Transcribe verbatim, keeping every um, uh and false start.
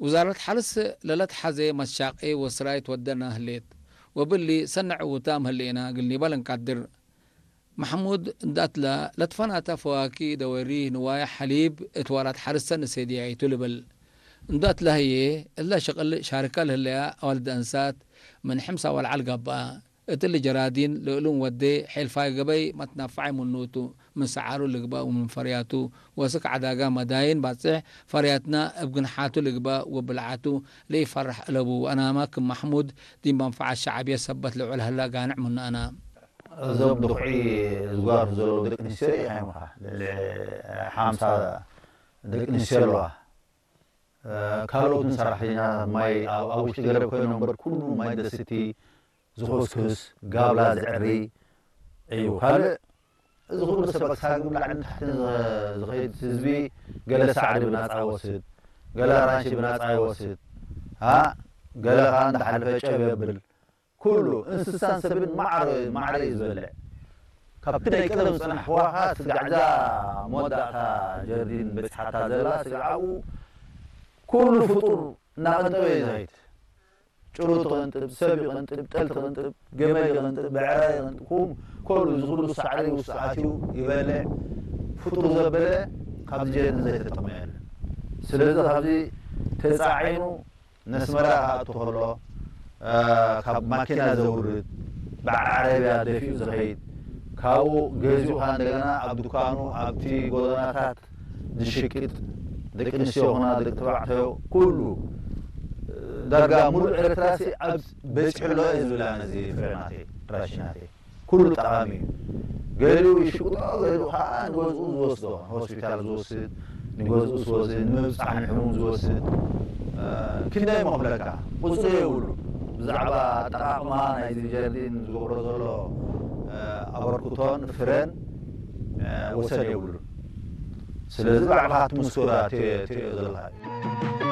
ውዛረት ሐርስ ለለትሐዜ መትሻቄ ወስራይ ትወደና ህሌት፣ ወብሊ ሰኒ ዕዉታም ህሌና እግል ኒበል እንቀድር። መሕሙድ እንደ አትላ ለትፈናተ ፈዋኪ ደወሪ ንዋየ ሐሊብ እት ዋላት ሐርሰ ንሴድያይቱ ልብል። እንደ አትላ ህዬ እለ ሽቅል ሻርከ ለህለያ አዋልድ አንሳት ምን ሕምሳ ወለዐል ገብአ። እትሊ ጀራዲን ለእሉም ወዴ ሔልፋይ ገበይ መትነፈዐ ምኑቱ፣ ምን ሰዓሩ ልግበእ ወምን ፈርያቱ ወስክ ዐዳጋ መዳይን ባጽሕ ፈርያትና እብ ግንሓቱ ልግበእ ወብልዓቱ ለኢፈርሕ እለቡ። ወአናመ ክም መሕሙድ ዲብ መንፈዐት ሸዕብየት ሰበት ልዑል ሀላ ጋንዕ ምኑ አና። እዞም ድኩዒ ዝጓርሁ ዘለዉ ደቂ አንስትዮ ይሓይሙኻ። ልዕሊ ሓምሳ ደቂ አንስትዮ ኣለዋ። ካልኦትን ሰራሕተኛታት ማይ ኣብ፣ ኣብ ውሽጢ ገረብ ኮይኖም እምበር ኩሉ ማይ ደስቲ፣ ዝኹስኩስ፣ ጋብላ ዝዕሪ እዩ። ካልእ እዚ ኩሉ ሰብ ሳግም ላዕልን ታሕትን ዝኸይድ ህዝቢ ገለ ሳዕሪ ብናጻ ይወስድ፣ ገለ ኣራንሺ ብናጻ ይወስድ፣ አ፣ ገለ ከኣ እንዳሓለፈ ጨብ የብል። ኩሉ እንስሳን ሰብን ማዕረ፣ ማዕረ እዩ ዝበልዕ። ካብቲ ናይ ቀደም ዝጸንሐዋ ከኣ ስጋዕ እዛ መወዳእታ ጀርዲን በጺሓታ ዘላ ስጋዕ ኣብኡ ኩሉ ፍጡር እናቐንጠበ እዩ ዝኸይድ። ጭሩት ይቐንጥብ፣ ሰብ ይቐንጥብ፣ ጠል ትቐንጥብ፣ ገመል ይቐንጥብ፣ ብዕራይ ይቐንጥብ፣ ኩ-፣ ኩሉ እዚ ኩሉ ሳዕሪ ውስጥ ኣትዩ ይበልዕ። ፍጡር ዘበለ ካብዚ ጀርዲን ዘይተጠቕመ የለን። ስለዚ ካብዚ ተጻዒኑ ነስመራ ክኣቱ ከሎ፣ አ፣ ካብ ማኪና ዘውርድ፣ በዓል ዓረብያ ደፊኡ ዝኸይድ፣ ካብኡ ገዚኡ ከኣ እንደገና ኣብ ዱካኑ፣ ኣብቲ ጎደናታት ዝሽቅጥ፣ ደቂ ኣንስትዮ ኹና ደቂ ተባዕታዮ፣ ኩሉ ዳርጋ ሙሉእ ኤርትራሲ ኣብ በጺሑ ኣሎ እየ ዝብል ኣነ፣ እዚ ፍረ ናተይ፣ ራሺ ናተይ። ኩሉ ጠቓሚ እዩ። ገሊኡ ይሽቅጦ፣ ገሊኡ ከኣ ንገዝኡ ዝወስዶ፣ ንሆስፒታል ዝወስድ፣ ንገዝኡ ዝወስድ፣ ንምብጻሕ ንሕሙም ዝወስድ፣ እ፣ ክንደይ እሞ ክብለካ፣ ቁጽሪ የብሉ። ብዛዕባ ኣጠቓቕማ ናይዚ ጀርዲን ዝገብሮ ዘሎ፣ እ፣ ኣበርክቶን ፍረን፣ እ፣ ወሰን የብሉን። ስለዚ ባዕልኻ ትምስክሮ ተ-፣ ትርእዮ ዘለኻ እዩ።